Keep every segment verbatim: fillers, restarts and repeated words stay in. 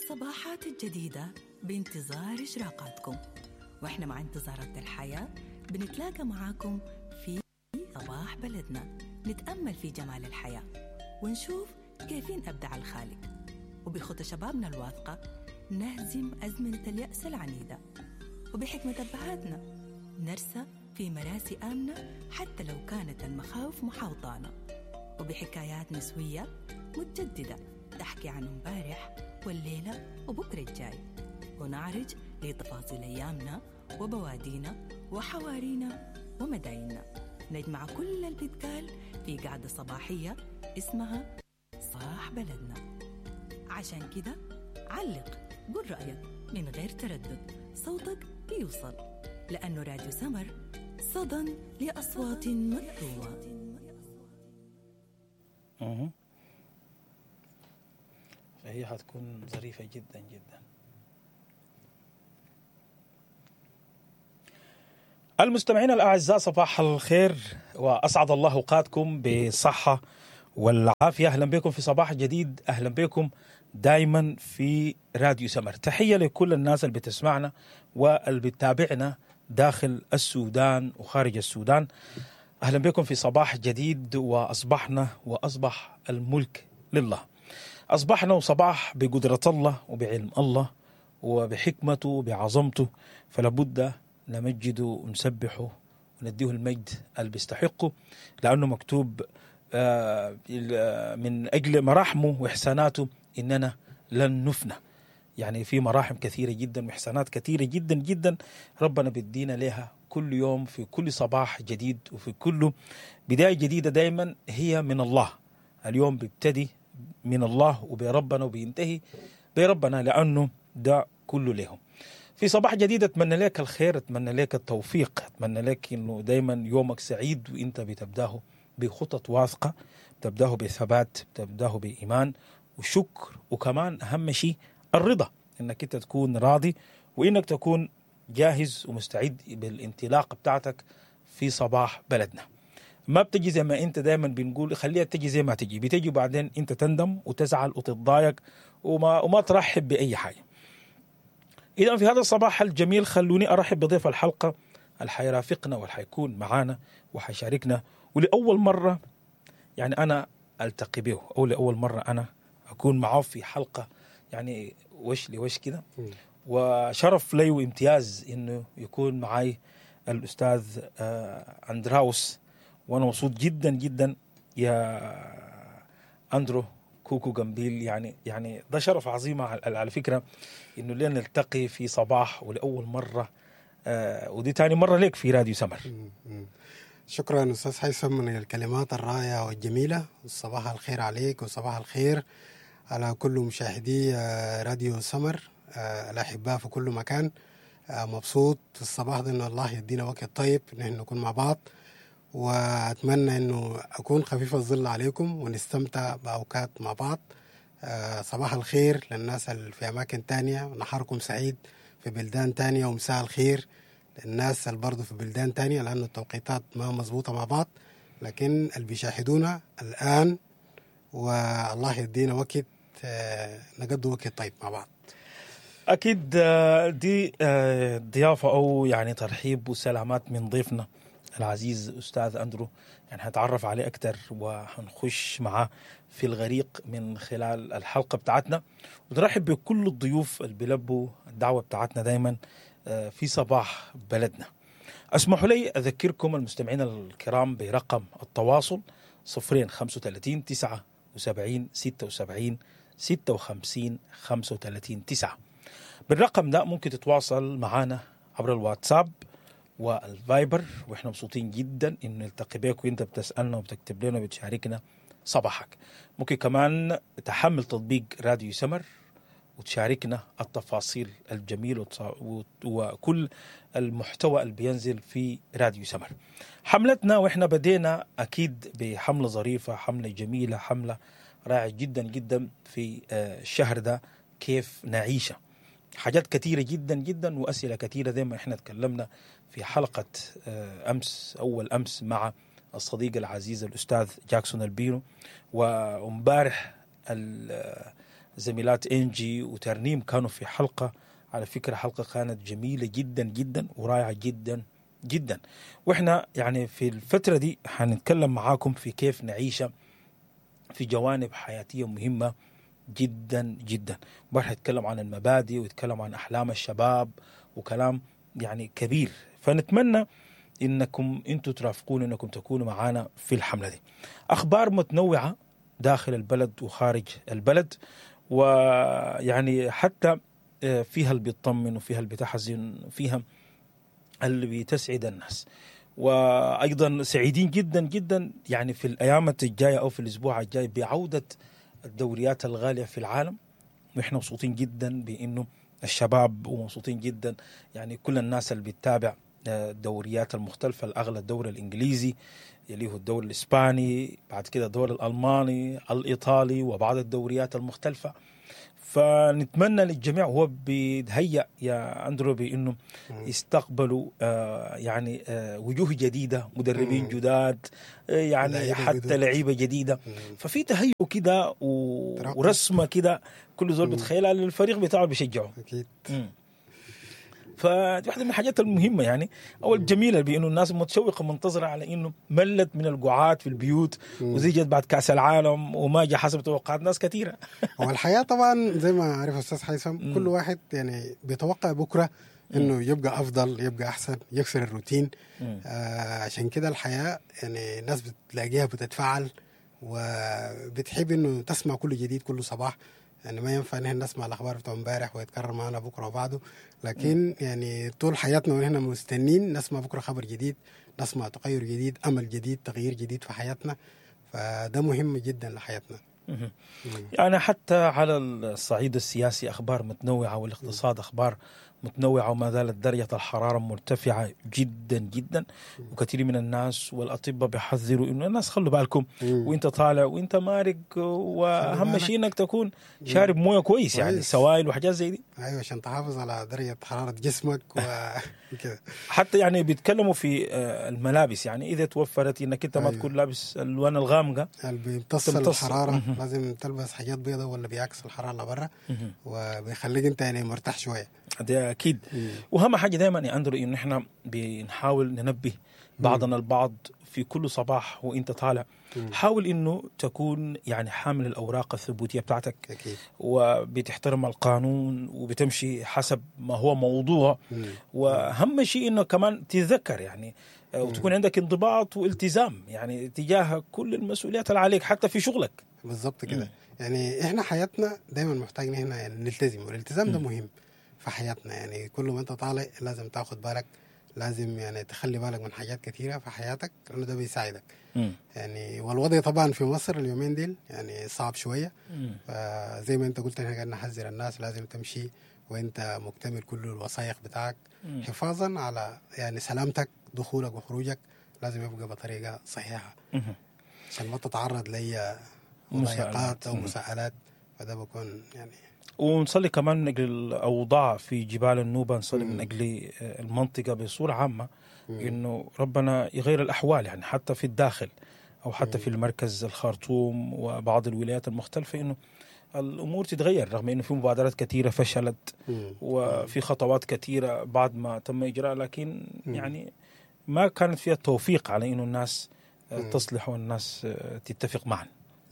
الصباحات الجديدة بانتظار إشراقاتكم، وإحنا مع انتظارات الحياة بنتلاقى معاكم في صباح بلدنا، نتأمل في جمال الحياة ونشوف كيفين أبدع الخالق، وبخطى شبابنا الواثقة نهزم أزمنة اليأس العنيدة، وبحكمة أبهاتنا نرسى في مراسي آمنة حتى لو كانت المخاوف محاوطانا، وبحكايات نسوية متجددة تحكي عن امبارح والليلة وبكرة الجاي، ونعرج لتفاصيل أيامنا وبوادينا وحوارينا ومدايننا. نجمع كل اللي بيتقال في قعدة صباحية اسمها صباح بلدنا. عشان كده علق، قول رأيك من غير تردد، صوتك بيوصل، لأنه راديو سمر صدى لأصوات مكتومة. أها. فهي حتكون ظريفة جدا جدا. المستمعين الأعزاء، صباح الخير وأسعد الله أوقاتكم بالصحة والعافية. أهلا بكم في صباح جديد، أهلا بكم دايما في راديو سمر. تحية لكل الناس اللي بتسمعنا واللي بتتابعنا داخل السودان وخارج السودان. أهلا بكم في صباح جديد، وأصبحنا وأصبح الملك لله. أصبحنا وصباح بقدرة الله وبعلم الله وبحكمته وبعظمته، فلابد نمجده ونسبحه ونديه المجد اللي بيستحقه، لأنه مكتوب من أجل مراحمه وإحساناته إننا لن نفنى. يعني في مراحم كثيرة جدا وإحسانات كثيرة جدا جدا ربنا بيدينا لها كل يوم في كل صباح جديد وفي كل بداية جديدة، دايما هي من الله. اليوم بيبتدي من الله وبربنا وبينتهي بربنا، لأنه ده كله لهم. في صباح جديد أتمنى لك الخير، أتمنى لك التوفيق، أتمنى لك إنه دايما يومك سعيد وإنت بتبداه بخطط واثقة، بتبداه بثبات، بتبداه بإيمان وشكر، وكمان أهم شيء الرضا، إنك أنت تكون راضي وإنك تكون جاهز ومستعد بالانطلاق بتاعتك في صباح بلدنا. ما بتجي زي ما انت دايما بنقول خليها تجي زي ما تجي، بتجي وبعدين انت تندم وتزعل وتتضايق وما وما ترحب بأي حاجة. إذا في هذا الصباح الجميل خلوني أرحب بضيف الحلقة اللي حيرافقنا واللي حيكون معانا وحيشاركنا، ولأول مرة يعني أنا ألتقي به، أو لأول مرة أنا أكون معه في حلقة يعني وش لوش كده، وشرف لي وامتياز إنه يكون معي الأستاذ أندراوس، وأنا مبسوط جدا جدا يا أندرو كوكو جنبيل. يعني يعني ده شرف عظيم على فكرة إنه لنا نلتقي في صباح ولأول مرة، آه ودي تاني مرة لك في راديو سمر. شكرا أستاذ هيثم من الكلمات الرائعة والجميلة. صباح الخير عليك وصباح الخير على كل مشاهدي راديو سمر الأحباء في كل مكان. مبسوط في الصباح ده إن الله يدينا وقت طيب نحن نكون مع بعض، وأتمنى أنه أكون خفيف الظل عليكم ونستمتع بأوقات مع بعض. صباح الخير للناس اللي في أماكن تانية، نهاركم سعيد في بلدان تانية، ومساء الخير للناس اللي برضو في بلدان تانية، لأن التوقيتات ما مزبوطة مع بعض، لكن اللي بيشاهدونا الآن والله يدينا وقت نقضي وقت طيب مع بعض. أكيد دي ضيافة أو يعني ترحيب وسلامات من ضيفنا العزيز أستاذ أندرو، يعني هنتعرف عليه أكتر وهنخش معاه في الغريق من خلال الحلقة بتاعتنا. ونرحب بكل الضيوف اللي بيلبوا الدعوة بتاعتنا دايما في صباح بلدنا. أسمحوا لي أذكركم المستمعين الكرام برقم التواصل صفرين خمسة وثلاثين تسعة وسبعين ستة وسبعين ستة وخمسين خمسة وثلاثين تسعة. بالرقم ده ممكن تتواصل معنا عبر الواتساب والفايبر، واحنا مبسوطين جدا ان نلتقي بك وانت بتسالنا وبتكتب لنا وبتشاركنا صباحك. ممكن كمان تحمل تطبيق راديو سمر وتشاركنا التفاصيل الجميلة وكل المحتوى اللي بينزل في راديو سمر. حملتنا واحنا بدينا اكيد بحمله ظريفة، حمله جميلة، حمله رائعة جدا جدا في الشهر ده، كيف نعيشه. حاجات كثيرة جدا جدا وأسئلة كثيرة زي ما احنا تكلمنا في حلقة أمس أول أمس مع الصديق العزيز الأستاذ جاكسون البينو، وامبارح زميلات انجي وترنيم كانوا في حلقة، على فكرة حلقة كانت جميلة جدا جدا ورائعة جدا جدا. واحنا يعني في الفترة دي حنتكلم معاكم في كيف نعيش في جوانب حياتية مهمة جدا جدا. وراح نتكلم عن المبادئ ويتكلم عن أحلام الشباب وكلام يعني كبير. فنتمنى انكم انتم ترافقون، انكم تكونوا معانا في الحملة دي. اخبار متنوعة داخل البلد وخارج البلد، ويعني حتى فيها اللي بيطمن وفيها اللي بتحزن وفيها اللي بتسعد الناس. وايضا سعيدين جدا جدا يعني في الايام الجاية او في الاسبوع الجاي بعوده الدوريات الغالية في العالم، ونحن مبسوطين جدا بانه الشباب، ومبسوطين جدا يعني كل الناس اللي بتتابع الدوريات المختلفة، الأغلى الدوري الإنجليزي، يليه الدوري الإسباني، بعد كده الدوري الألماني، الإيطالي، وبعض الدوريات المختلفة. فنتمنى للجميع، هو بيتهيأ يا أندرو بأنه يستقبلوا آه يعني آه وجوه جديدة، مدربين جداد، آه يعني حتى لعيبة جديدة. ففي تهيؤ كده ورسمة كده كل زول بتخيلها للفريق بتاعه بيشجعه. أكيد. فدي واحدة من الحاجات المهمة يعني أو الجميلة، بأنه الناس متشوقة منتظرة على إنه ملت من القعاد في البيوت وزيجت بعد كأس العالم وما جاء حسب توقعات ناس كثيرة. هو الحياة طبعا زي ما عارف أستاذ حيثم، كل واحد يعني بيتوقع بكرة إنه يبقى أفضل، يبقى أحسن، يكسر الروتين. آه عشان كده الحياة يعني الناس بتلاقيها بتتفاعل وبتحب إنه تسمع كل جديد كل صباح. يعني ما ينفع ان احنا نسمع الاخبار بتاع امبارح ويتكرر معنا بكره وبعده، لكن يعني طول حياتنا ونحن مستنين نسمع بكره خبر جديد، نسمع تغير جديد، امل جديد، تغيير جديد في حياتنا. فده مهم جدا لحياتنا. يعني حتى على الصعيد السياسي اخبار متنوعة، والاقتصاد اخبار متنوعة، وما زالت درجه الحرارة مرتفعة جدا جدا، وكثير من الناس والاطباء بيحذروا انه الناس خلوا بالكم وانت طالع وانت مارق، واهم شيء انك تكون شارب مويه كويس، يعني سوائل وحاجات زي دي. ايوه، عشان تحافظ على درجه حرارة جسمك وكذا. حتى يعني بيتكلموا في الملابس، يعني اذا توفرت انك انت ما أيوة. تكون لابس الالوان الغامقه اللي بيمتص الحرارة، لازم تلبس حاجات بيضاء ولا بيعكس الحرارة لبره وبيخليك انت يعني مرتاح شوية. ده اكيد. واهم حاجة دائما يا اندرو انه احنا بنحاول ننبه بعضنا البعض في كل صباح وانت طالع، حاول انه تكون يعني حامل الاوراق الثبوتيه بتاعتك. أكيد. وبتحترم القانون وبتمشي حسب ما هو موضوع. واهم شيء انه كمان تتذكر يعني وتكون عندك انضباط والتزام يعني تجاه كل المسؤوليات اللي عليك حتى في شغلك. بالضبط كده. يعني احنا حياتنا دايما محتاجين هنا يعني نلتزم، والالتزام ده مهم في حياتنا. يعني كل ما انت طالع لازم تاخد بالك، لازم يعني تخلي بالك من حاجات كثيرة في حياتك لأنه ده بيساعدك. مم. يعني والوضع طبعا في مصر اليومين ديل يعني صعب شوية. فزي ما انت قلت احنا قاعدين نحذر الناس، لازم تمشي وانت مكتمل كل الوثائق بتاعك. مم. حفاظا على يعني سلامتك، دخولك وخروجك لازم يبقى بطريقة صحيحة عشان ما تتعرض لأي مضايقات أو مساءلات. فده بكون يعني. ونصلي كمان من أجل الأوضاع في جبال النوبة، نصلي من أجل المنطقة بصورة عامة، إنه ربنا يغير الأحوال يعني حتى في الداخل أو حتى في المركز الخرطوم وبعض الولايات المختلفة، إنه الأمور تتغير، رغم إنه في مبادرات كثيرة فشلت وفي خطوات كثيرة بعد ما تم إجراء، لكن يعني ما كانت فيها التوفيق على إنه الناس تصلح والناس تتفق معا.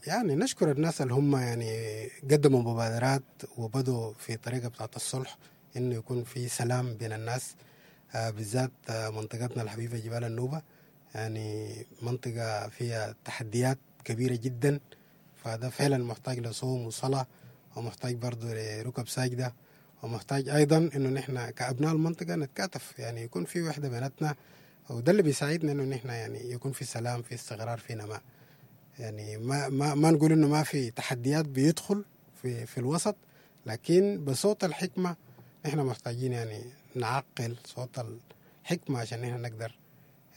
يعني نشكر الناس اللي هم يعني قدموا مبادرات وبدوا في طريقة بتاعت الصلح، إنه يكون في سلام بين الناس، آه بالذات آه منطقتنا الحبيبة جبال النوبة، يعني منطقة فيها تحديات كبيرة جدا، فده فعلا محتاج لصوم وصلاة، ومحتاج برضو لركب ساجدة، ومحتاج أيضا إنه نحن كأبناء المنطقة نتكاتف، يعني يكون في وحدة بيناتنا، وده اللي بيساعدنا إنه نحن يعني يكون في سلام، في استقرار، في نماء. يعني ما ما ما نقول انه ما في تحديات بيدخل في في الوسط، لكن بصوت الحكمة احنا محتاجين يعني نعقل صوت الحكمة عشان احنا نقدر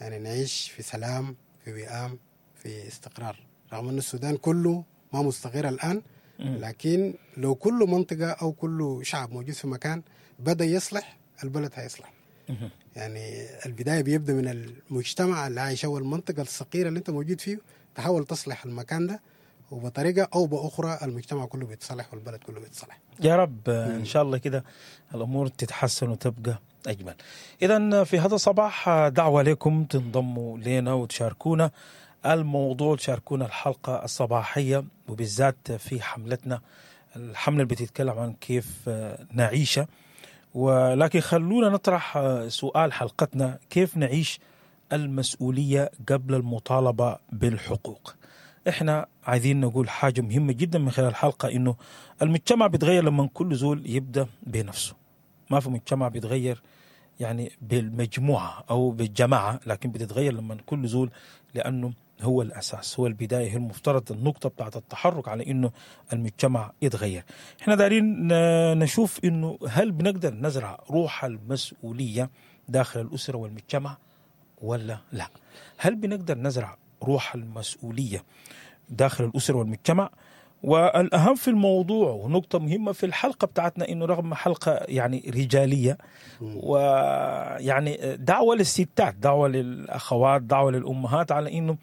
يعني نعيش في سلام، في وئام، في استقرار. رغم ان السودان كله ما مستقر الان، لكن لو كل منطقة او كل شعب موجود في مكان بدا يصلح، البلد هيصلح. يعني البداية بيبدا من المجتمع اللي عايشه والمنطقة الصغيرة اللي انت موجود فيه، تحاول تصلح المكان ده، وبطريقة او باخرى المجتمع كله بيتصلح والبلد كله بيتصلح. يا رب ان شاء الله كده الامور تتحسن وتبقى اجمل. اذا في هذا الصباح دعوه لكم تنضموا لنا وتشاركونا الموضوع، تشاركونا الحلقة الصباحية، وبالذات في حملتنا، الحملة اللي بتتكلم عن كيف نعيش. ولكن خلونا نطرح سؤال حلقتنا: كيف نعيش المسؤولية قبل المطالبة بالحقوق؟ احنا عايزين نقول حاجة مهمة جدا من خلال الحلقة، انه المجتمع بيتغير لما كل زول يبدا بنفسه. ما في مجتمع بيتغير يعني بالمجموعة او بالجماعة، لكن بتتغير لما كل زول، لانه هو الاساس، هو البداية، هي المفترض النقطة بتاعت التحرك على انه المجتمع يتغير. احنا دايرين نشوف انه هل بنقدر نزرع روح المسؤولية داخل الاسرة والمجتمع ولا لا؟ هل بنقدر نزرع روح المسؤولية داخل الأسرة والمجتمع؟ والأهم في الموضوع ونقطة مهمة في الحلقة بتاعتنا، إنه رغم حلقة يعني رجالية ويعني دعوة للستات، دعوة للأخوات، دعوة للأمهات على إنه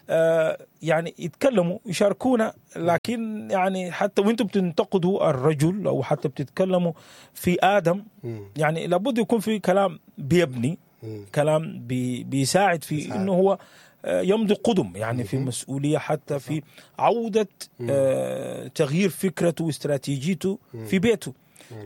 آه يعني يتكلموا يشاركونا، لكن يعني حتى وانتم بتنتقدوا الرجل أو حتى بتتكلموا في آدم، يعني لابد يكون في كلام بيبني، كلام بي بيساعد في إنه هو يمضي قدم، يعني في مسؤولية، حتى في عودة آه تغيير فكرته واستراتيجيته في بيته.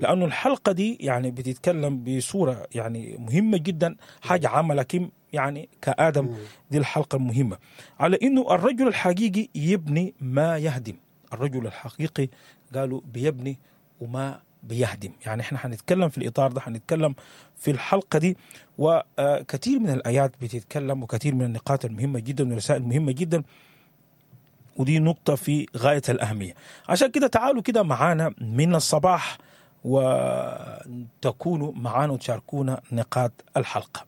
لأنه الحلقة دي يعني بتتكلم بصورة يعني مهمة جدا، حاجة عامة، لكن يعني كآدم دي الحلقة المهمة على إنه الرجل الحقيقي يبني ما يهدم. الرجل الحقيقي قالوا بيبني وما بيهدم. يعني احنا حنتكلم في الإطار ده، حنتكلم في الحلقة دي، وكثير من الآيات بتتكلم وكثير من النقاط المهمة جدا والرسائل المهمة جدا، ودي نقطة في غاية الأهمية. عشان كده تعالوا كده معانا من الصباح وتكونوا معانا وتشاركونا نقاط الحلقة.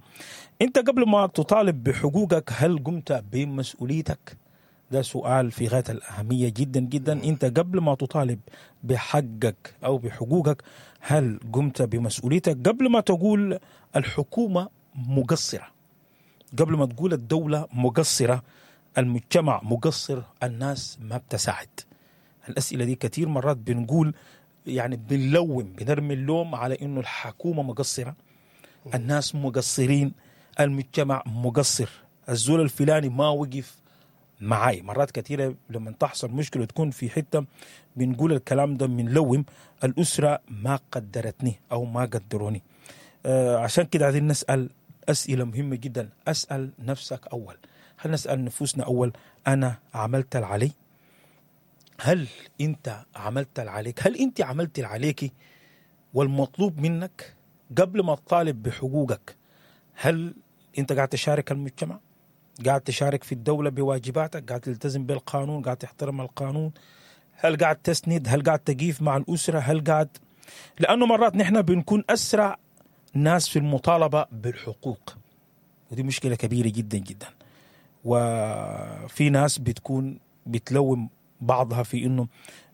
انت قبل ما تطالب بحقوقك هل قمت بمسؤوليتك؟ ده سؤال في غاية الأهمية جدا جدا. انت قبل ما تطالب بحقك أو بحقوقك هل قمت بمسؤوليتك؟ قبل ما تقول الحكومة مقصرة، قبل ما تقول الدولة مقصرة، المجتمع مقصر، الناس ما بتساعد. الأسئلة دي كثير مرات بنقول يعني بنلوم، بنرمي اللوم على إنه الحكومة مقصرة، الناس مقصرين، المجتمع مقصر، الزول الفلاني ما وقف معاي. مرات كثيرة لما تحصل مشكلة تكون في حتة بنقول الكلام ده، بنلوم الأسرة ما قدرتني أو ما قدروني. آه عشان كده عايزين نسأل أسئلة مهمة جدا. أسأل نفسك أول، هل نسأل نفوسنا أول، أنا عملت العلي؟ هل أنت عملت العليك؟ هل أنت عملت العليك والمطلوب منك قبل ما تطالب بحقوقك؟ هل أنت قاعد تشارك المجتمع؟ قاعد تشارك في الدولة بواجباتك؟ قاعد تلتزم بالقانون؟ قاعد تحترم القانون؟ هل قاعد تسند؟ هل قاعد تقيف مع الأسرة؟ هل قاعد؟ لأنه مرات نحن بنكون أسرع ناس في المطالبة بالحقوق، ودي مشكلة كبيرة جدا جدا. وفي ناس بتكون بتلوم بعضها في إنه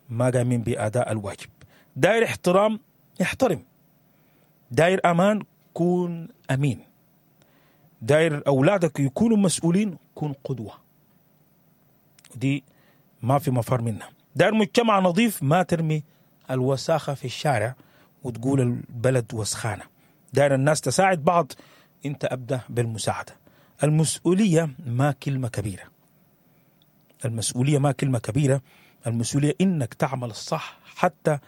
ما قامين بأداء الواجب. داير احترام احترم، داير أمان كون أمين، داير أولادك يكونوا مسؤولين كون قدوة، ودي ما في مفر منها. داير مجتمع نظيف ما ترمي الوساخة في الشارع وتقول البلد وسخانة. داير الناس تساعد بعض، انت أبدأ بالمساعدة. المسؤولية ما كلمة كبيرة، المسؤولية ما كلمة كبيرة، المسؤولية إنك تعمل الصح حتى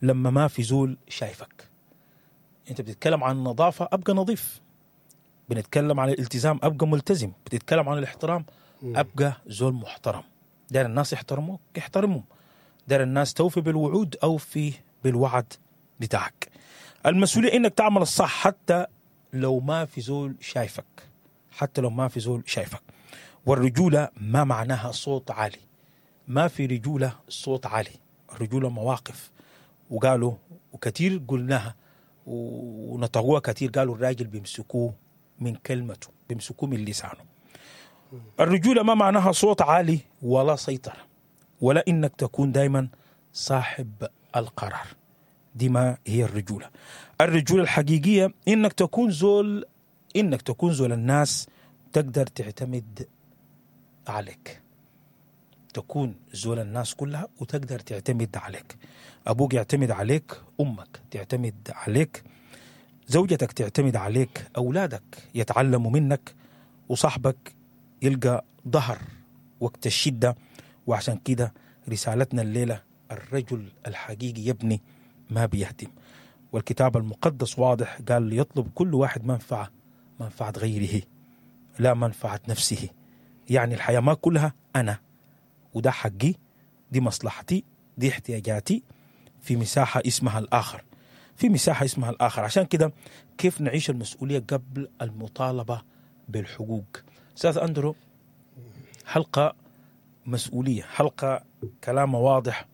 لما ما في زول شايفك. انت بتتكلم عن النظافة، أبقى نظيف. بنتكلم عن الالتزام، أبقى ملتزم. بتتكلم عن الاحترام، أبقى زول محترم. دار الناس يحترموك احترمهم، دار الناس توفي بالوعود أو في بالوعد بتاعك. المسؤولية إنك تعمل الصح حتى لو ما في زول شايفك، حتى لو ما في زول شايفك. والرجولة ما معناها صوت عالي، ما في رجولة صوت عالي، الرجولة مواقف. وقالوا وكثير قلناها ونطقوها كثير، قالوا الراجل بيمسكوه من كلمته، بيمسكوه من لسانه. الرجولة ما معناها صوت عالي ولا سيطرة، ولا إنك تكون دايما صاحب القرار. دي ما هي الرجولة. الرجولة الحقيقية إنك تكون زول، إنك تكون زول الناس تقدر تعتمد عليك. تكون زول الناس كلها وتقدر تعتمد عليك. أبوك يعتمد عليك، أمك تعتمد عليك، زوجتك تعتمد عليك، أولادك يتعلموا منك، وصاحبك يلقى ظهر وقت الشدة. وعشان كده رسالتنا الليلة، الرجل الحقيقي يبني ما بيهدم. والكتاب المقدس واضح، قال ليطلب كل واحد منفعة، منفعة غيره لا منفعة نفسه. يعني الحياة ما كلها أنا، وده حقي، دي مصلحتي، دي احتياجاتي. في مساحة اسمها الآخر، في مساحة اسمها الآخر. عشان كده كيف نعيش المسؤولية قبل المطالبة بالحقوق؟ أستاذ أندرو، حلقة مسؤولية، حلقة كلامه واضح،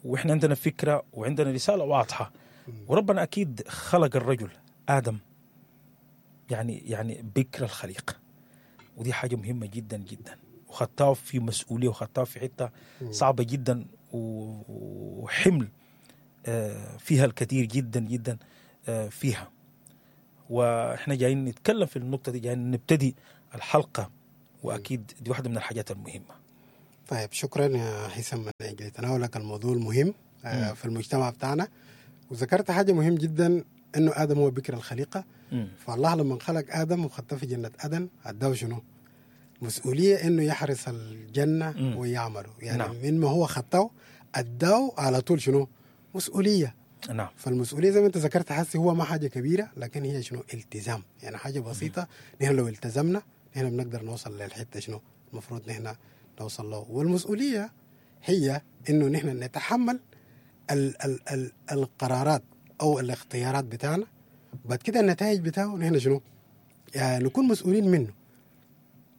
وإحنا عندنا فكرة وعندنا رسالة واضحة. وربنا أكيد خلق الرجل آدم يعني يعني بكر الخليقة، ودي حاجة مهمة جدا جدا، وخطاه في مسؤولية، وخطاه في حتة صعبة جدا وحمل فيها الكثير جدا جدا فيها. وإحنا جايين نتكلم في النقطة دي، جايين نبتدي الحلقة، وأكيد دي واحدة من الحاجات المهمة. طيب، شكرا يا حسام من أجل تناولك الموضوع المهم مم. في المجتمع بتاعنا. وذكرت حاجة مهم جدا، إنه آدم هو بكر الخليقة. مم. فالله لما خلق آدم وخطه في جنة عدن، أداه شنو؟ مسؤولية إنه يحرس الجنة مم. ويعمله. يعني نعم. من ما هو خطاه أداه على طول شنو؟ مسؤولية. نعم. فالمسؤولية زي ما أنت ذكرت حسي هو ما حاجة كبيرة، لكن هي شنو؟ التزام. يعني حاجة بسيطة، نحن لو التزمنا نحن بنقدر نوصل للحتة شنو المفروض نحن نوصل له. والمسؤولية هي إنه نحن نتحمل ال ال ال القرارات أو الاختيارات بتاعنا، بعد كده النتائج بتاعه نحن شنو؟ يعني نكون مسؤولين منه.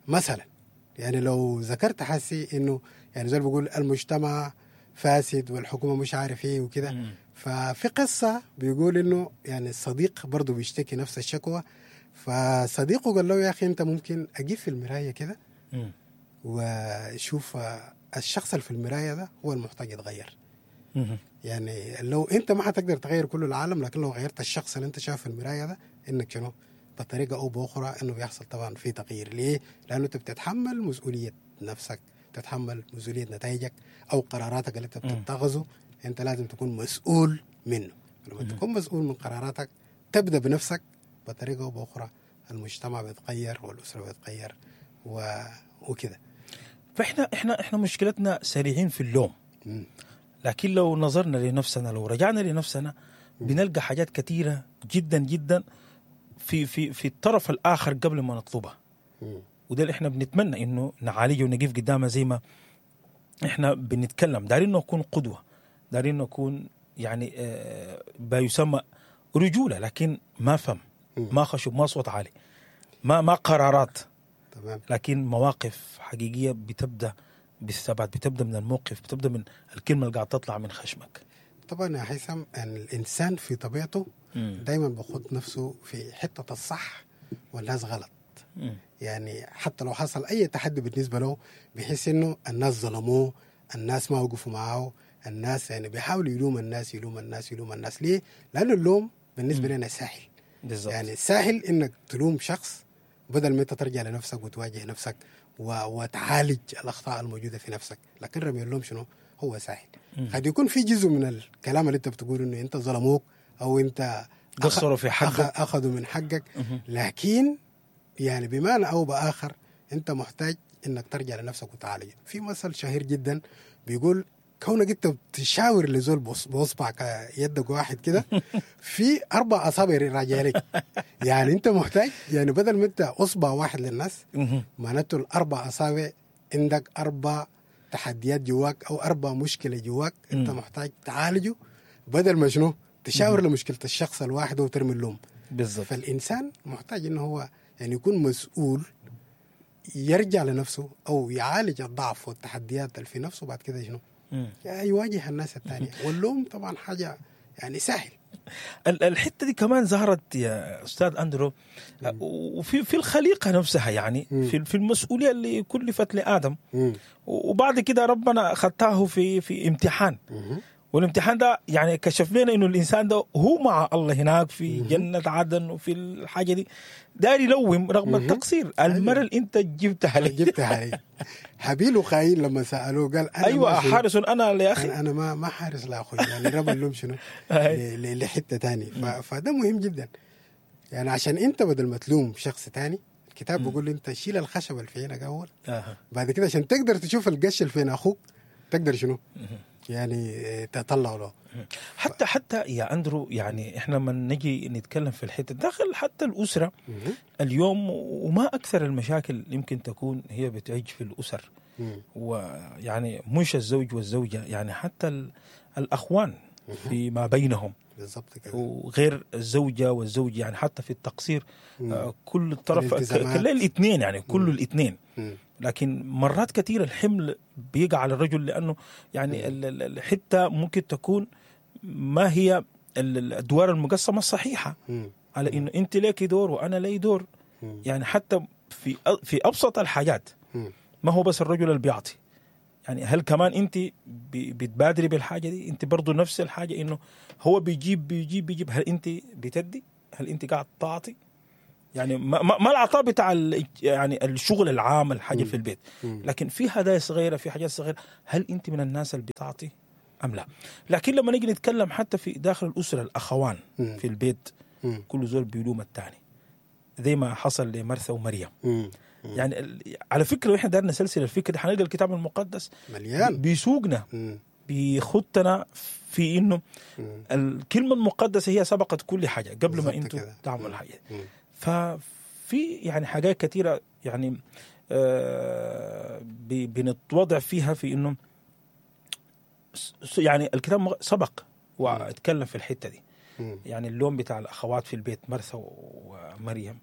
مثلا يعني لو ذكرت حسي إنه يعني زي بيقول المجتمع فاسد والحكومة مش عارف إيه وكده، ففي قصة بيقول إنه يعني الصديق برضو بيشتكي نفس الشكوى، فصديقه قال له يا أخي أنت ممكن أجيب في المراية كده وشوف الشخص اللي في المراية ده هو المحتاج يتغير. يعني لو أنت ما هتقدر تغير كل العالم، لكن لو غيرت الشخص اللي أنت شايف في المراية ده، إنك شنو بطريقة أو بأخرى إنه بيحصل طبعا في تغيير. ليه؟ لأنه أنت بتتحمل مسؤولية نفسك، تتحمل مسؤولية نتائجك أو قراراتك اللي أنت بتتخذه، أنت لازم تكون مسؤول منه. لما تكون مسؤول من قراراتك تبدأ بنفسك، بطريقة أو بأخرى المجتمع بيتغير والأسرة بتتغير و... وكده. فإحنا إحنا إحنا مشكلتنا سريعين في اللوم، لكن لو نظرنا لنفسنا، لو رجعنا لنفسنا، بنلقى حاجات كثيرة جدا جدا في في في الطرف الآخر قبل ما نطلبها. وده اللي إحنا بنتمنى إنه نعالجه ونقف قدامه زي ما إحنا بنتكلم. دارين نكون قدوة، دارين نكون يعني آه ما يسمى رجولة، لكن ما فهم، ما خشب، ما صوت عالي، ما ما قرارات، تمام، لكن مواقف حقيقية بتبدأ بالثبات، بتبدأ من الموقف، بتبدأ من الكلمة اللي قاعد تطلع من خشمك. طبعا يا هيثم، أن الإنسان في طبيعته دايما بيخد نفسه في حتة الصح والناس غلط. مم. يعني حتى لو حصل أي تحدي بالنسبة له بيحس إنه الناس ظلموه، الناس ما وقفوا معه، الناس يعني بيحاول يلوم الناس يلوم الناس يلوم الناس. ليه؟ لأنه اللوم بالنسبة لنا سهل. بالزبط. يعني سهل إنك تلوم شخص بدل ما أنت ترجع لنفسك وتواجه نفسك و... وتعالج الأخطاء الموجودة في نفسك. لكن رمي اللوم شنو؟ هو سهل. قد يكون في جزء من الكلام اللي أنت بتقول إنه أنت ظلموك أو أنت قصروا في حقك، أخ... أخذوا من حقك، لكن يعني بمعنى أو بآخر أنت محتاج إنك ترجع لنفسك وتعالج. في مثل شهير جدا بيقول كونك أنت بتشاور لزول بصبعك يدك واحد كده في أربع أصابع راجع لك. يعني أنت محتاج، يعني بدل ما أنت أصبع واحد للناس، معناته الأربع أصابع عندك أربع تحديات جواك أو أربع مشكلة جواك أنت محتاج تعالجه، بدل ما شنو تشاور لمشكلة الشخص الواحد وترمي اللوم. بالضبط. فالإنسان محتاج إنه هو يعني يكون مسؤول، يرجع لنفسه أو يعالج الضعف والتحديات اللي في نفسه، بعد كده شنو يواجه الناس الثانية. واللوم طبعا حاجة يعني سهل. الحتة دي كمان ظهرت يا أستاذ أندرو وفي في الخليقة نفسها، يعني في في المسؤولية اللي كلفت لآدم، وبعد كده ربنا خطاه في في امتحان، والامتحان ده يعني كشف لنا انه الانسان ده هو مع الله هناك في جنة عدن وفي الحاجة دي داير يلوم رغم التقصير. المرة اللي انت جبتها لي جبتها لي. هابيل وقايين لما سالوه قال انا ايوه حارس انا لاخي، انا, أنا ما ما حارس لاخوي، يعني رمى اللوم شنو لحته ثانية. فده مهم جدا يعني، عشان انت بدل ما تلوم شخص ثاني، الكتاب بيقول انت شيل الخشب اللي في عينك اول، آه. بعد كده عشان تقدر تشوف القش اللي في عين اخوك تقدر شنو يعني تطلعه له. حتى حتى يا اندرو، يعني احنا لما نجي نتكلم في الحتة داخل حتى الاسرة اليوم، وما اكثر المشاكل يمكن تكون هي بتعج في الاسر، ويعني مش الزوج والزوجة، يعني حتى الاخوان فيما بينهم بالضبط كده، وغير الزوجة والزوج، يعني حتى في التقصير آه كل طرف كل الاثنين، يعني كل الاثنين. لكن مرات كثير الحمل بيقع على الرجل، لانه يعني الحتة ممكن تكون ما هي الادوار المقسمه الصحيحة، مم. على انه انت لك دور وانا لي دور. مم. يعني حتى في في ابسط الحاجات، مم. ما هو بس الرجل اللي بيعطي، يعني هل كمان انت بتبادري بالحاجة دي؟ انت برضو نفس الحاجة، انه هو بيجيب بيجيب بيجيب، هل انت بتدي؟ هل انت قاعد تعطي؟ يعني ما, ما العطاء بتاع يعني الشغل العام الحاجة في البيت، لكن في هدايا صغيرة، في حاجات صغيرة، هل انت من الناس اللي بتعطي ام لا؟ لكن لما نيجي نتكلم حتى في داخل الاسرة، الاخوان في البيت كل زول بيلوم الثاني، زي ما حصل لمرثا ومريم. يعني على فكرة واحنا دارنا سلسلة الفكرة، حنلقى الكتاب المقدس مليان بيسوقنا، بيخطنا في انه الكلمة المقدسة هي سبقت كل حاجة قبل ما انتم تعملوا حاجة. ففي يعني حاجات كثيرة يعني آه بنتوضع فيها في انه يعني الكتاب سبق واتكلم في الحتة دي. يعني اللوم بتاع الاخوات في البيت مرثا ومريم،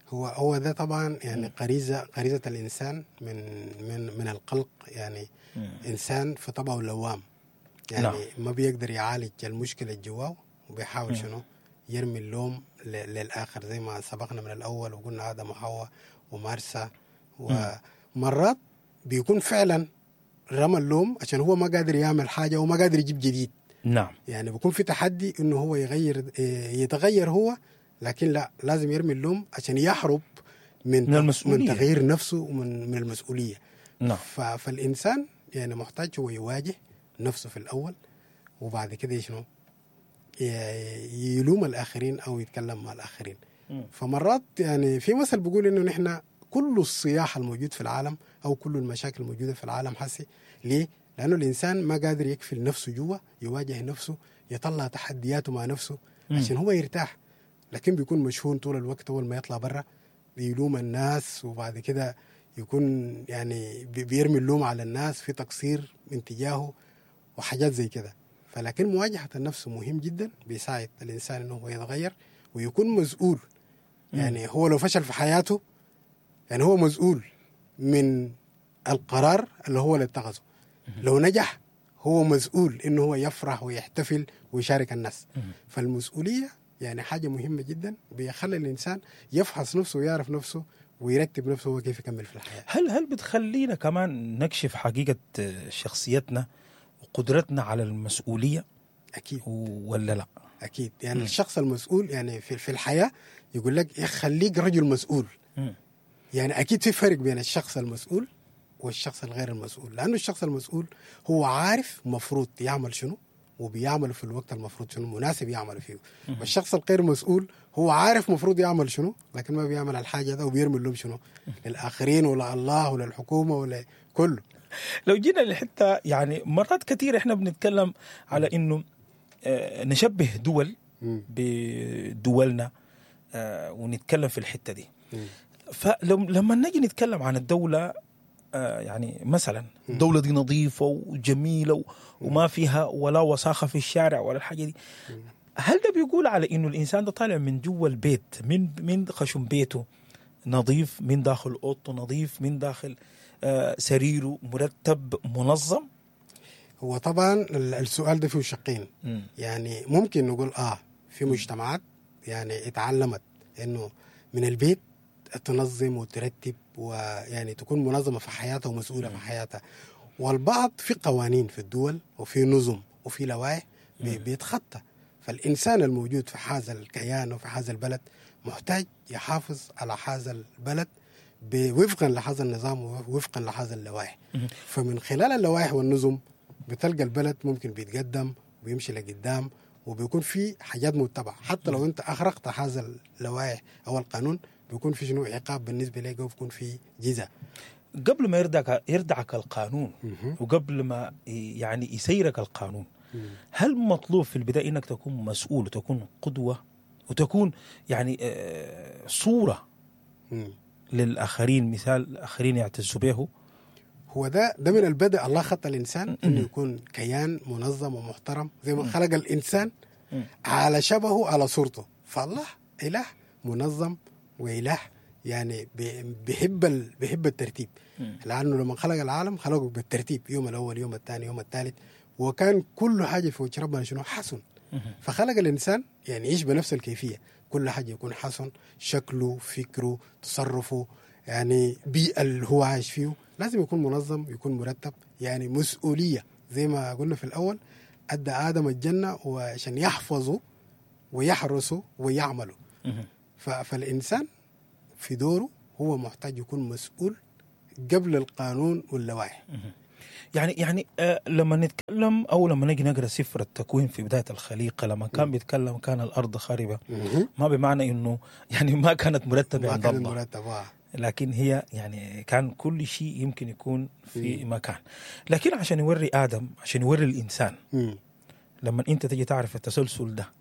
هو هو ده طبعا يعني غريزة غريزة الانسان من من من القلق، يعني مم. انسان في طبعه لوام، يعني نعم. ما بيقدر يعالج المشكلة جواه، وبيحاول شنو يرمي اللوم للاخر، زي ما سبقنا من الاول وقلنا ادم وحواء ومارسا. ومرات بيكون فعلا رمى اللوم عشان هو ما قادر يعمل حاجة وما قادر يجيب جديد. نعم. يعني بيكون في تحدي انه هو يغير يتغير هو، لكن لا، لازم يرمي اللوم عشان يهرب من من, المسؤولية. من تغيير نفسه ومن من المسؤولية. نعم. فالانسان يعني محتاج هو يواجه نفسه في الاول، وبعد كده شنو يلوم الاخرين او يتكلم مع الاخرين. م. فمرات يعني في مثل بيقول انه نحن كل الصياح الموجود في العالم او كل المشاكل الموجودة في العالم حسي ليه؟ لانه الانسان ما قادر يكفل نفسه جوا، يواجه نفسه، يطلع تحدياته مع نفسه عشان هو يرتاح. لكن بيكون مشحون طول الوقت، اول ما يطلع برا بيلوم الناس، وبعد كده يكون يعني بيرمي اللوم على الناس في تقصير من تجاهه وحاجات زي كده. فلكن مواجهة النفس مهم جدا، بيساعد الإنسان إنه هو يتغير ويكون مسؤول. يعني هو لو فشل في حياته يعني هو مسؤول من القرار اللي هو اللي اتخذه. لو نجح هو مسؤول إنه هو يفرح ويحتفل ويشارك الناس. فالمسؤولية يعني حاجة مهمة جدا، بيخلي الإنسان يفحص نفسه ويعرف نفسه ويرتب نفسه هو كيف يكمل في الحياة. هل هل بتخلينا كمان نكشف حقيقة شخصيتنا وقدرتنا على المسؤولية؟ أكيد. ولا لا؟ أكيد. يعني م. الشخص المسؤول يعني في في الحياة يقول لك خليك رجل مسؤول. م. يعني أكيد في فرق بين الشخص المسؤول والشخص الغير المسؤول، لأنه الشخص المسؤول هو عارف مفروض يعمل شنو وبيعمل في الوقت المفروض شنو مناسب يعمل فيه. والشخص الغير مسؤول هو عارف مفروض يعمل شنو لكن ما بيعمل الحاجة ده، وبيرمي اللوم شنو للآخرين ولا الله ولا الحكومة ولا كله. لو جينا لحتة يعني مرات كثير احنا بنتكلم على انه نشبه دول بدولنا ونتكلم في الحتة دي. فلما نجي نتكلم عن الدولة يعني مثلا الدولة دي نظيفة وجميلة وما فيها ولا وساخة في الشارع ولا الحاجة دي، هل ده بيقول على انه الانسان ده طالع من جوا البيت، من من خشم بيته نظيف، من داخل اوضته نظيف، من داخل سريره مرتب منظم؟ هو طبعا السؤال ده فيه شقين. يعني ممكن نقول اه في مجتمعات يعني اتعلمت انه من البيت تنظم وترتب ويعني تكون منظمة في حياتها ومسؤولة في حياتها، والبعض في قوانين في الدول وفي نظم وفي لوائح بيتخطى. فالانسان الموجود في هذا الكيان وفي هذا البلد محتاج يحافظ على هذا البلد وفقا لهذا النظام ووفقا لهذا اللوائح. فمن خلال اللوائح والنظم بتلقى البلد ممكن بيتقدم وبيمشي لقدام، وبيكون في حاجات متبعة. حتى لو انت اخرقت هذا اللوائح او القانون بيكون في شنو عقاب بالنسبة لك، وبيكون في جزاء. قبل ما يردعك يردعك القانون وقبل ما يعني يسيرك القانون، هل مطلوب في البداية انك تكون مسؤول وتكون قدوة وتكون يعني صوره للاخرين، مثال الاخرين يعتزوا به؟ هو ده ده من البدء الله خط الانسان انه يكون كيان منظم ومحترم، زي ما خلق الانسان على شبهه على صورته. فالله اله منظم واله يعني بيحب ال... بيحب الترتيب، لانه لما خلق العالم خلقه بالترتيب، يوم الاول يوم الثاني يوم الثالث، وكان كل حاجة في وجه ربنا شنو حسن. فخلق الانسان يعني يعيش بنفس الكيفية، كل حاجة يكون حسن، شكله، فكرة، تصرفه، يعني بيئة اللي هو عايش فيه لازم يكون منظم، يكون مرتب، يعني مسؤولية. زي ما قلنا في الأول، أدى آدم الجنة وعشان يحفظوا ويحرسوا ويعملوا. فالإنسان في دوره هو محتاج يكون مسؤول قبل القانون واللوائح. يعني يعني آه لما نتكلم او لما نجي نقرا سفر التكوين في بداية الخليقة، لما كان بيتكلم كان الارض خاربه، ما بمعنى انه يعني ما كانت مرتبه عند الله، مرتبه، لكن هي يعني كان كل شيء يمكن يكون في مكان. لكن عشان يوري ادم، عشان يوري الانسان، لما انت تجي تعرف التسلسل ده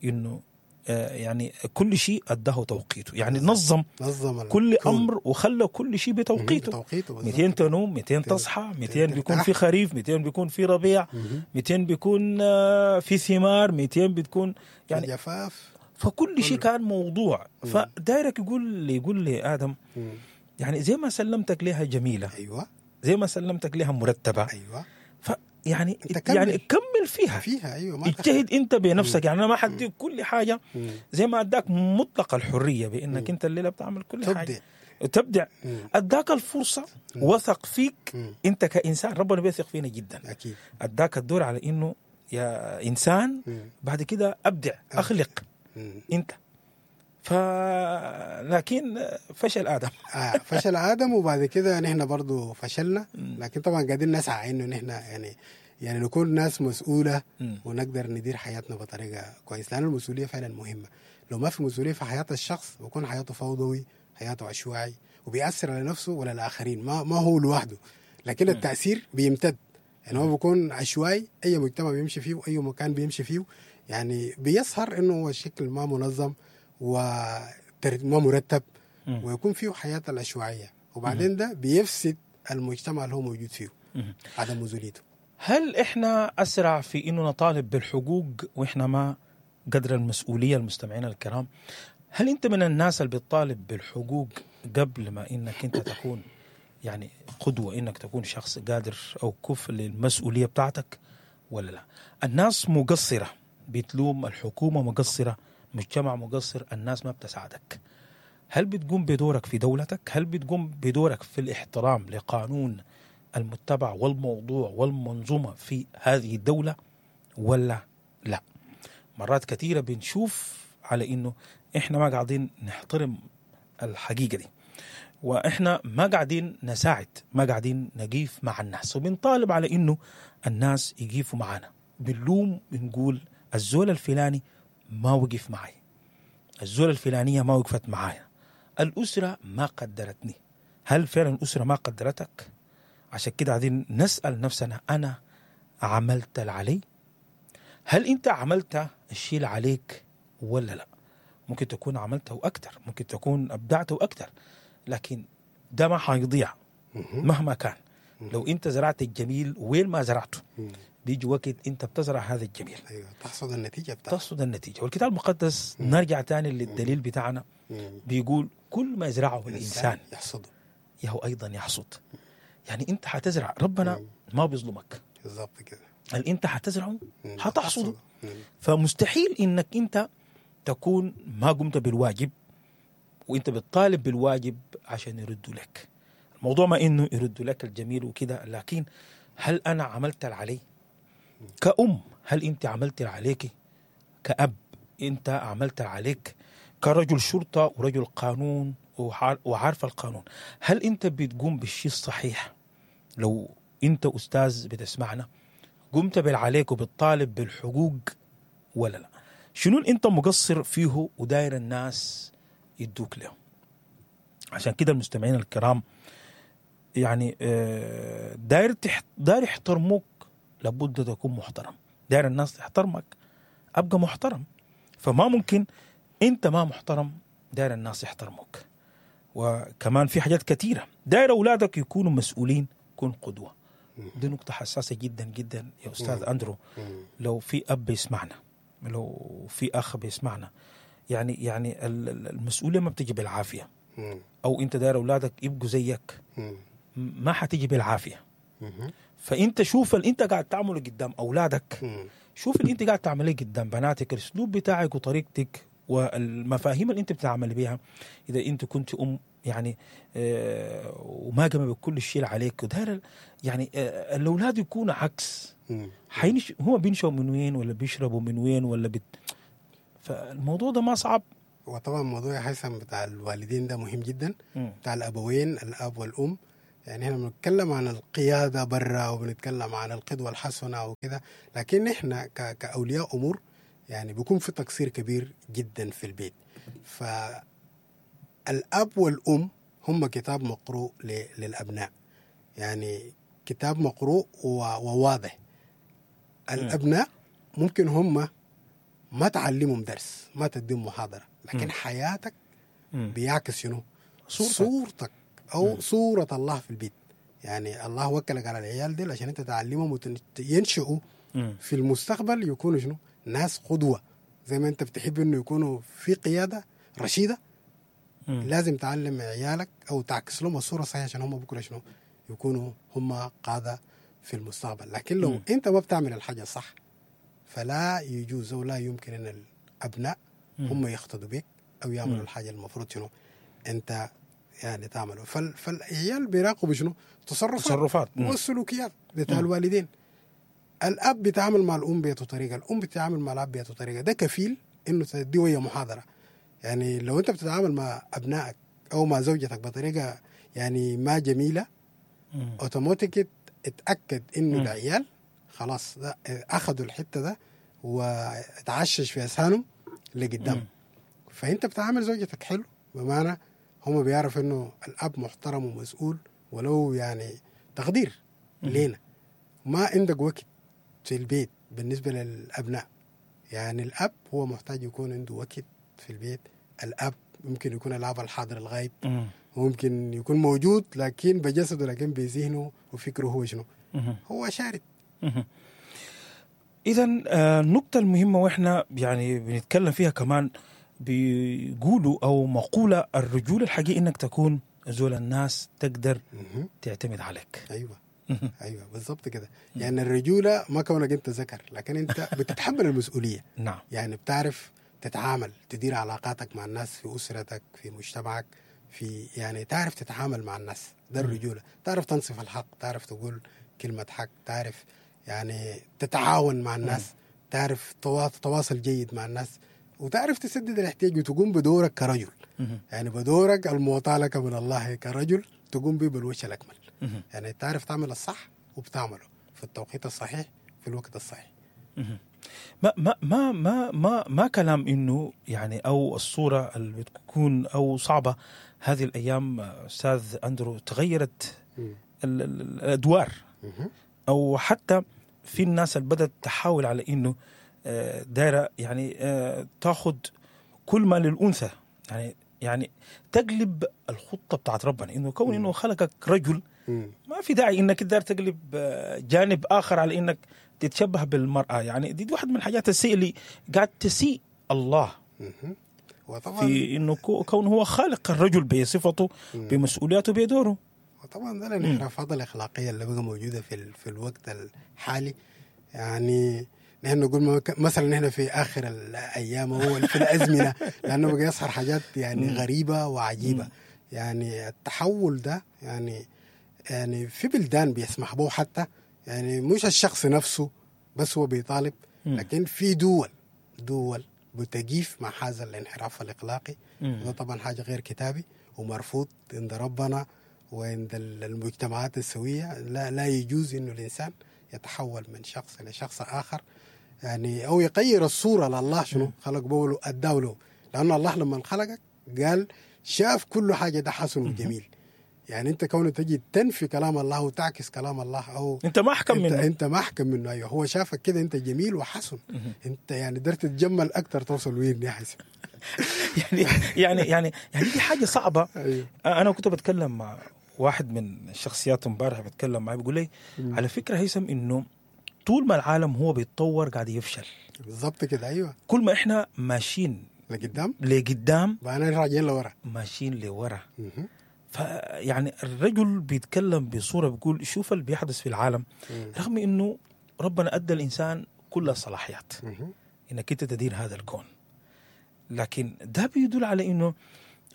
انه آه يعني كل شيء اداه توقيته، يعني نظم, نظم كل امر وخلى كل شيء بتوقيته. مئتين تنوم، مئتين تصحى، مئتين بيكون في خريف، مئتين بيكون في ربيع، مئتين بيكون آه في ثمار، مئتين بتكون يعني جفاف. فكل شيء كان موضوع. فدايرك يقول يقول لآدم يعني زي ما سلمتك لها جميلة، أيوة، زي ما سلمتك لها مرتبة، أيوة، يعني كمل. يعني كمل فيها فيها أيوة، ما اجتهد أنت بنفسك. يعني أنا ما حديك كل حاجة، مم. زي ما أداك مطلق الحرية بأنك مم. أنت الليلة بتعمل كل تبدع. حاجة تبدع، أداك الفرصة، مم. وثق فيك. مم. أنت كإنسان ربنا بيثق فينا جدا، أكيد. أداك الدور على إنه يا إنسان مم. بعد كده أبدع، أخلق مم. أنت. فلكن فشل آدم. آه فشل آدم، وبعد كده نحن برضو فشلنا، لكن طبعا قاعدين نسعى إنه نحن يعني يعني نكون ناس مسؤولة ونقدر ندير حياتنا بطريقة كويس، لأن المسؤولية فعلا مهمة. لو ما في مسؤولية في حياة الشخص بيكون حياته فوضوي، حياته عشوائي، وبيأثر على نفسه ولا الآخرين، ما ما هو لوحده، لكن التأثير بيمتد. يعني هو بيكون عشوائي، أي مجتمع بيمشي فيه وأي مكان بيمشي فيه يعني بيظهر إنه هو الشكل ما منظم وما مرتب، ويكون فيه حياة العشوائية، وبعدين ده بيفسد المجتمع اللي هو موجود فيه، عدم مسؤوليته. هل إحنا أسرع في إنه نطالب بالحقوق وإحنا ما قدر المسؤولية؟ المستمعين الكرام، هل أنت من الناس اللي بتطالب بالحقوق قبل ما إنك أنت تكون يعني قدوة، إنك تكون شخص قادر أو كفء للمسؤولية بتاعتك ولا لا؟ الناس مقصرة، بتلوم الحكومة مقصرة، مجتمع مقصر، الناس ما بتساعدك. هل بتقوم بدورك في دولتك؟ هل بتقوم بدورك في الاحترام لقانون المتبع والموضوع والمنظومة في هذه الدولة ولا لا؟ مرات كثيرة بنشوف على إنه إحنا ما قاعدين نحترم الحقيقة دي، وإحنا ما قاعدين نساعد، ما قاعدين نقيف مع الناس، وبنطالب على إنه الناس يقيفوا معنا. بنلوم، بنقول الزول الفلاني ما وقف معي، الزول الفلانية ما وقفت معايا، الأسرة ما قدرتني. هل فعلا الأسرة ما قدرتك؟ عشان كده عايزين نسأل نفسنا، أنا عملت العلي؟ هل أنت عملت الشيء اللي عليك ولا لا؟ ممكن تكون عملته أكتر، ممكن تكون أبدعته أكتر، لكن ده ما حيضيع مهما كان. لو أنت زرعت الجميل وين ما زرعته بيجي وقت أنت بتزرع هذا الجميل، أيوة، تحصد النتيجة بتاعته، تحصد النتيجة. والكتاب المقدس مم. نرجع تاني للدليل بتاعنا، مم. بيقول كل ما يزرعه الإنسان يحصده يهو أيضا يحصد. يعني أنت حتزرع، ربنا مم. ما بيظلمك بالضبط كده، اللي أنت حتزرعه حتحصده. فمستحيل إنك أنت تكون ما قمت بالواجب وأنت بتطالب بالواجب عشان يردوا لك. الموضوع ما إنه يردوا لك الجميل وكده، لكن هل أنا عملت العلي؟ كأم هل انت عملت اللي عليك؟ كأب انت عملت اللي عليك؟ كرجل شرطة ورجل قانون وعارف القانون، هل انت بتقوم بالشيء الصحيح؟ لو انت استاذ بتسمعنا، قمت بالعليك وبتطالب بالحقوق ولا لا؟ شنو اللي انت مقصر فيه وداير الناس يدوك له؟ عشان كده المستمعين الكرام يعني داير تحت داير يحترموك لابد تكون محترم، داير الناس تحترمك ابقى محترم. فما ممكن انت ما محترم داير الناس يحترموك. وكمان في حاجات كثيرة، داير اولادك يكونوا مسؤولين، كن قدوة. دي نقطة حساسة جدا جدا يا استاذ اندرو. لو في اب بيسمعنا، لو في اخ بيسمعنا، يعني يعني المسؤولية ما بتجي بالعافية. او انت داير اولادك يبقوا زيك، ما حتيجي بالعافية. فانت شوف اللي انت قاعد تعمله قدام اولادك، شوف اللي انت قاعد تعمله قدام بناتك، الاسلوب بتاعك وطريقتك والمفاهيم اللي انت بتعمل بيها. اذا انت كنت ام يعني آه وما قام بكل الشيء اللي عليك، وداير يعني آه الاولاد يكونوا عكس، حينش هم بينشوا من وين ولا بيشربوا من وين ولا بت... فالموضوع ده ما صعب. وطبعا موضوع هيثم بتاع الوالدين ده مهم جدا، م. بتاع الابوين الاب والام. يعني احنا بنتكلم عن القيادة برا وبنتكلم عن القدوة الحسنة وكده، لكن احنا ك... كاولياء امور يعني بيكون في تقصير كبير جدا في البيت. فالاب والام هم كتاب مقروء ل... للابناء، يعني كتاب مقروء و... وواضح. الابناء ممكن هم ما تعلمهم درس، ما تديهم محاضرة، لكن م. حياتك م. بيعكس شنو؟ صورتك, صورتك أو م. صورة الله في البيت. يعني الله وكلك على العيال دي عشان أنت تعلمهم وينشئوا في المستقبل يكونوا شنو؟ ناس قدوة. زي ما أنت بتحب إنه يكونوا في قيادة رشيدة، م. لازم تعلم عيالك أو تعكس لهم الصورة الصحيحة عشان هم بكرة شنو؟ يكونوا هم قادة في المستقبل. لكن لو م. أنت ما بتعمل الحاجة صح، فلا يجوز ولا يمكن أن الأبناء هم يقتدوا بك أو يعملوا الحاجة المفروض شنو أنت يعني تعمله. فال فالعيال بيراقبوا شنو؟ تصرفات, تصرفات. والسلوكيات بتاع الوالدين. الأب بيتعامل مع الأم بيته طريقة، الأم بتتعامل مع الأب بيته طريقة. ده كفيل إنه تديه ويا محاضرة. يعني لو أنت بتتعامل مع أبنائك أو مع زوجتك بطريقة يعني ما جميلة، أوتوماتيك اتأكد إنه العيال خلاص ده أخذوا الحتة ده وتعشش في أذهانهم لقدام. فأنت بتعامل زوجتك حلو، بمعنى هم بيعرف إنه الأب محترم ومسؤول، ولو يعني تقدير لينا. ما عندك وقت في البيت بالنسبة للأبناء. يعني الأب هو محتاج يكون عنده وقت في البيت. الأب ممكن يكون الأب الحاضر الغايب، ممكن يكون موجود لكن بجسده، لكن بذهنه وفكره هو شنو؟ هو شارد. إذا النقطة المهمة وإحنا يعني بنتكلم فيها كمان، بيقولوا أو مقولة الرجولة الحقيقية إنك تكون زول الناس تقدر تعتمد عليك. أيوة أيوة بالضبط كده. يعني الرجولة ما كونك أنت ذكر، لكن أنت بتتحمل المسؤولية. نعم. يعني بتعرف تتعامل، تدير علاقاتك مع الناس في أسرتك، في مجتمعك، في يعني تعرف تتعامل مع الناس. ده الرجولة. تعرف تنصف الحق، تعرف تقول كلمة حق، تعرف يعني تتعاون مع الناس، تعرف تواصل جيد مع الناس، وتعرف تسدد الاحتياج وتقوم بدورك كرجل. يعني بدورك المعطى لك من الله كرجل تقوم به بالوجه الأكمل. يعني تعرف تعمل الصح وبتعمله في التوقيت الصحيح في الوقت الصحيح. ما ما ما ما ما, ما كلام إنه يعني أو الصورة اللي بتكون أو صعبة هذه الأيام أستاذ أندرو، تغيرت الأدوار، أو حتى في الناس اللي بدأت تحاول على إنه دايرة يعني تاخد كل ما للأنثى، يعني يعني تقلب الخطة بتاعت ربنا، إنه كون إنه خلقك رجل ما في داعي إنك تقدر تقلب جانب آخر على إنك تتشبه بالمرأة. يعني دي واحد من الحاجات السيئة اللي قاعد تسيء الله وطبعا في إنه كون هو خالق الرجل بصفته بمسؤولياته بدوره. وطبعا ده الانحرافات الأخلاقية اللي بقى موجودة في في الوقت الحالي. يعني نحن نقول مثلا نحن في آخر الأيام هو في الأزمنة، لأنه بقى يظهر حاجات يعني غريبة وعجيبة. يعني التحول ده يعني يعني في بلدان بيسمح به حتى، يعني مش الشخص نفسه بس هو بيطالب. مم. لكن في دول دول بتجيف مع هذا الانحراف الاخلاقي. مم. وده طبعا حاجة غير كتابي ومرفوض عند ربنا وعند المجتمعات السوية. لا لا يجوز انه الانسان يتحول من شخص الى شخص اخر، يعني او يغير الصورة لله شنو خلق بوله اداه له، لان الله لما خلقك قال شاف كل حاجة ده حسن وجميل. يعني انت كونه تجي تنفي كلام الله وتعكس كلام الله، او انت ما احكم انت منه، انت ما احكم منه. ايوه هو شافك كده انت جميل وحسن، انت يعني قدرت تتجمل اكثر توصل وين يا حسن. يعني يعني يعني يعني دي حاجة صعبة. أيوه. انا كنت بتكلم مع واحد من الشخصيات امبارح، بتكلم معاه بيقول لي على فكرة هيثم انه طول ما العالم هو بيتطور قاعد يفشل. بالضبط كده. ايوه كل ما احنا ماشيين لقدام لقدام بقينا راجعين لورا، ماشيين لورا. فيعني الرجل بيتكلم بصورة بيقول شوف اللي بيحدث في العالم، رغم انه ربنا ادى الانسان كل الصلاحيات انك انت تدير هذا الكون، لكن ده بيدل على انه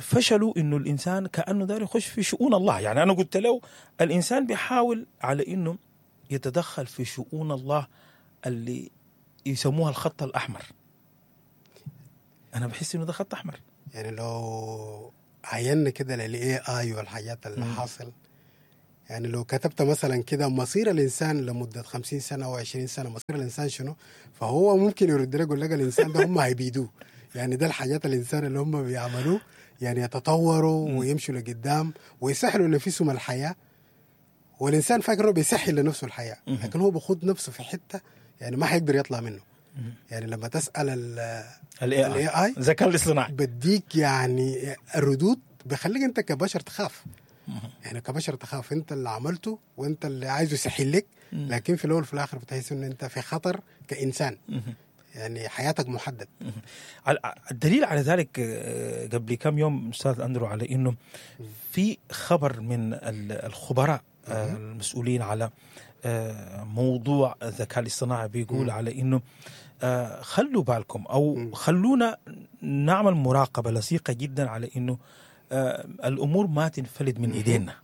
فشلوا، انه الانسان كانه داير يخش في شؤون الله. يعني انا قلت له الانسان بيحاول على انه يتدخل في شؤون الله اللي يسموها الخط الاحمر. انا بحس انه ده خط احمر. يعني لو عينا كده لل AI والحاجات اللي حاصل، يعني لو كتبت مثلا كده مصير الانسان لمدة خمسين سنة او عشرين سنة، مصير الانسان شنو؟ فهو ممكن يرد لك يقول لك الانسان ده هم هيبيدوه. يعني ده الحاجات الانسان اللي هم بيعملوه، يعني يتطوروا ويمشوا لقدام ويسهلوا لنفسهم الحياة، والانسان فاكر انه بيسهل لنفسه الحياة، لكن هو بيخوض نفسه في حتة يعني ما حيقدر يطلع منه. يعني لما تسال ال AI الذكاء الاصطناعي بديك يعني الردود بخليك انت كبشر تخاف. يعني كبشر تخاف، انت اللي عملته وانت اللي عايزه يسهل لك، لكن في الاول وفي الاخر بتحس ان انت في خطر كانسان، يعني حياتك محدد. الدليل على ذلك قبل كم يوم استاذ اندرو على انه في خبر من الخبراء المسؤولين على موضوع الذكاء الاصطناعي بيقول على انه خلوا بالكم او خلونا نعمل مراقبة لصيقه جدا على انه الامور ما تنفلت من ايدينا.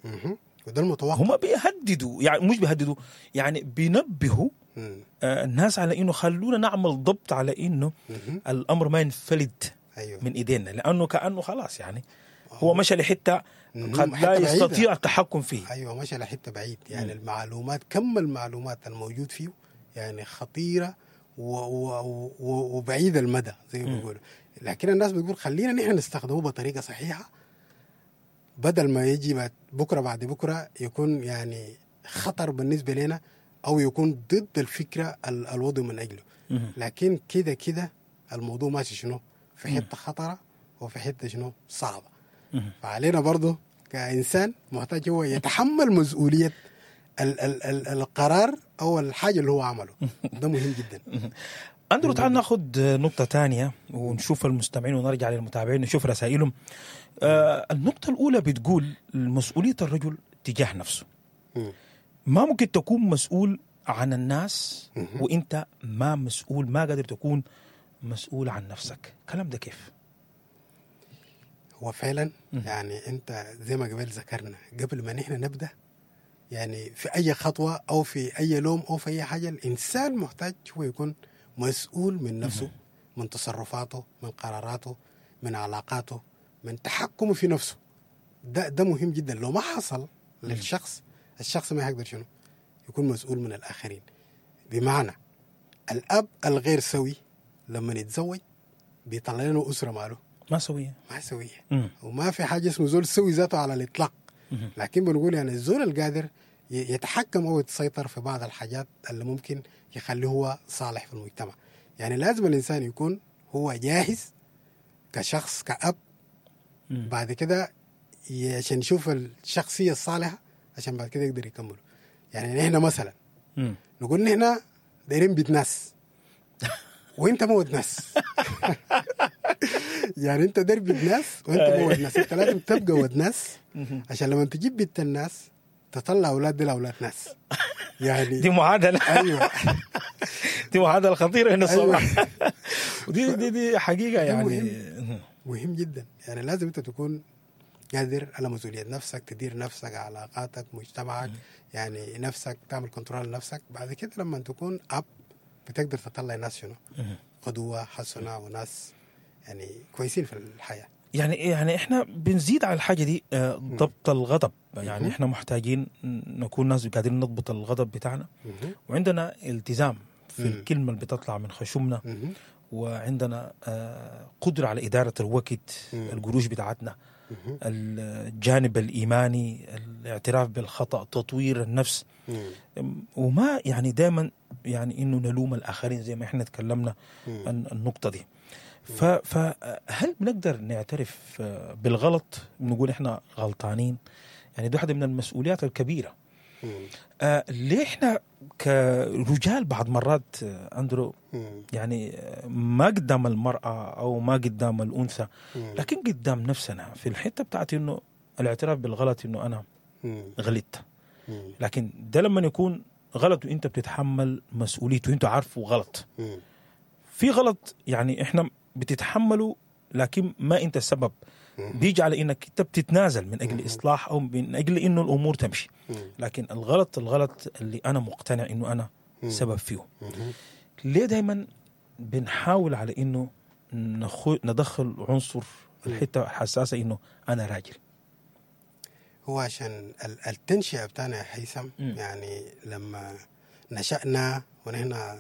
وده المتوقع. هم بيهددوا، يعني مش بيهددوا، يعني بينبهوا الناس على انه خلونا نعمل ضبط على انه الامر ما ينفلت أيوه. من ايدينا، لانه كانه خلاص يعني هو مشى لحته قد لا يستطيع التحكم فيه. ايوه مشى لحته بعيد. يعني مم. المعلومات، كم المعلومات الموجود فيه يعني خطيرة و و و وبعيد المدى زي ما بيقولوا. لكن الناس بتقول خلينا نحن نستخدمه بطريقة صحيحه، بدل ما يجي بكره بعد بكره يكون يعني خطر بالنسبة لنا او يكون ضد الفكرة الوضع من اجله. لكن كده كده الموضوع ماشي شنو في حتة خطره وفي حتة شنو صعبة. فعلينا برضه كإنسان محتاج هو يتحمل مسؤولية ال ال ال القرار أو الحاجة اللي هو عمله. ده مهم جدا. أندرو تعال ناخذ نقطة تانية ونشوف المستمعين ونرجع للمتابعين نشوف رسائلهم. آه النقطة الأولى بتقول مسؤولية الرجل تجاه نفسه. ما ممكن تكون مسؤول عن الناس وإنت ما مسؤول، ما قادر تكون مسؤول عن نفسك. كلام ده كيف؟ هو فعلا يعني انت زي ما قبل ذكرنا قبل ما نحن نبدا يعني في اي خطوة او في اي لوم او في اي حاجة، الانسان محتاج هو يكون مسؤول من نفسه، من تصرفاته، من قراراته، من علاقاته، من تحكمه في نفسه. ده ده مهم جدا. لو ما حصل للشخص، الشخص ما يقدر شنو يكون مسؤول من الاخرين. بمعنى الاب الغير سوي لما يتزوج بيطلع لنا اسره ماله ما سوية، ما سوية. مم. وما في حاجة اسمه زول سوي ذاته على الإطلاق. مم. لكن بنقول يعني الزول القادر يتحكم أو يتسيطر في بعض الحاجات اللي ممكن يخليه هو صالح في المجتمع. يعني لازم الإنسان يكون هو جاهز كشخص كأب. مم. بعد كده عشان يشوف الشخصية الصالحة عشان بعد كده يقدر يكمله. يعني نحن مثلا مم. نقول نحن دايرين بيت ناس وانت موت ناس. يعني انت داير بيت ناس وانت موت ناس. انت لازم تبقى ود ناس عشان لما تجيب بيت الناس تطلع اولاد دي اولاد ناس. يعني دي معادلة. ايوه دي معادلة خطيرة هنا الصراحة. ودي دي دي حقيقة يعني مهم. مهم جدا. يعني لازم انت تكون قادر على مسؤولية نفسك، تدير نفسك، علاقاتك، مجتمعك، يعني نفسك، تعمل control لنفسك. بعد كده لما تكون اب بتقدر تطلع ناس شنو قدوة حسنه وناس يعني كويسين في الحياة. يعني يعني احنا بنزيد على الحاجة دي آه، ضبط الغضب. يعني احنا محتاجين نكون ناس قادرين نضبط الغضب بتاعنا، وعندنا التزام في الكلمة اللي بتطلع من خشمنا، وعندنا آه، قدره على ادارة الوقت، القروش بتاعتنا، الجانب الايماني، الاعتراف بالخطا، تطوير النفس، وما يعني دائما يعني انه نلوم الاخرين زي ما احنا تكلمنا عن النقطة دي. فهل بنقدر نعترف بالغلط، بنقول احنا غلطانين؟ يعني دي واحدة من المسؤوليات الكبيرة. آه ليه احنا كرجال بعض مرات آه، اندرو يعني ما قدام المرأة او ما قدام الانثى، لكن قدام نفسنا في الحتة بتاعت انه الاعتراف بالغلط، انه انا غلطت، لكن ده لما يكون غلط وانت بتتحمل مسؤوليته وانت عارفه غلط. في غلط يعني احنا بتتحمله لكن ما انت السبب، بيجي على انك انت بتتنازل من اجل اصلاح او من اجل انه الامور تمشي. لكن الغلط الغلط اللي انا مقتنع انه انا سبب فيه، ليه دايما بنحاول على انه نخو ندخل عنصر الحتة الحساسة انه انا راجل؟ هو عشان التنشئه بتاعنا يا هيثم، يعني لما نشأنا ونحن